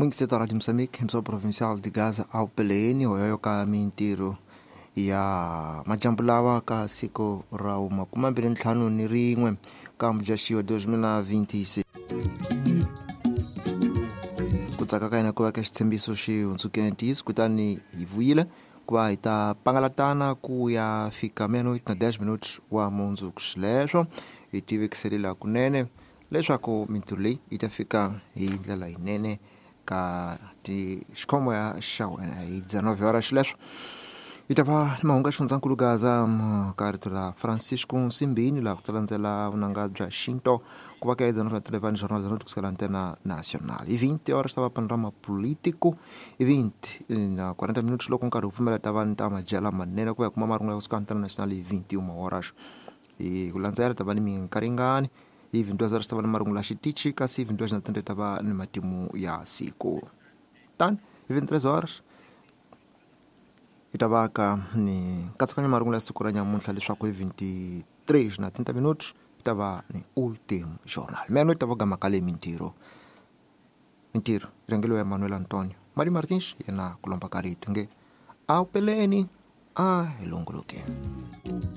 Mungiseta Radio Moçambique, emissora provincial de Gaza ao PLN, hoyoyo ka mintirho ya majambu lawa ka siku ra 25 ka Mudyaxihi 2026. Ku tsaka ka hina ku va ka xitshembiso xi hundzukile ntiyiso, kutani hi vuyile ku va hi ta pangalatana ku ya fika meia-noite na 10 minutos wa mundzuku. Xileswo hi tivekiselela kunene leswaku mintirho leyi yi ta fika hi ndlela yinene ka xikhomo ya xa wena hi 19 horas. Xileswo yi ta va ni mahungu ya xifundzankulu Gaza ka rito ra Francisco Nsimbini, laha ku ta landzela vunanga bya xinto ku va ka 19:11 Jornal da Noite kusukela Antena Nacional. Hi 20 horas ta va panorama político, hi 20 na 40 minutos loko nkarhi wu pfumela ta va ni ta madyela manene ku va hi kuma marungulo ya kusuka Antena Nacional hi 21 horas. Hi ku landzela ta va ni minkaringani hi 22 horas ta va ni marungulo ya xitichi, kasi hi 22 na 30 ta va ni matimu ya siku. Tani hi 23 horas hi ta va ka ni nkatsakanyo marungulo ya siku ra nyamuntlha, leswaku hi 23 na 30 minutos hi ta va ni ultimo journal. Meia noite ta va gama ka le mintirho mintirho rhangeliwa ya Manuel Antonio Mari Martins, yena ku lomba ka rito nge a wu peleni a hi longoloke.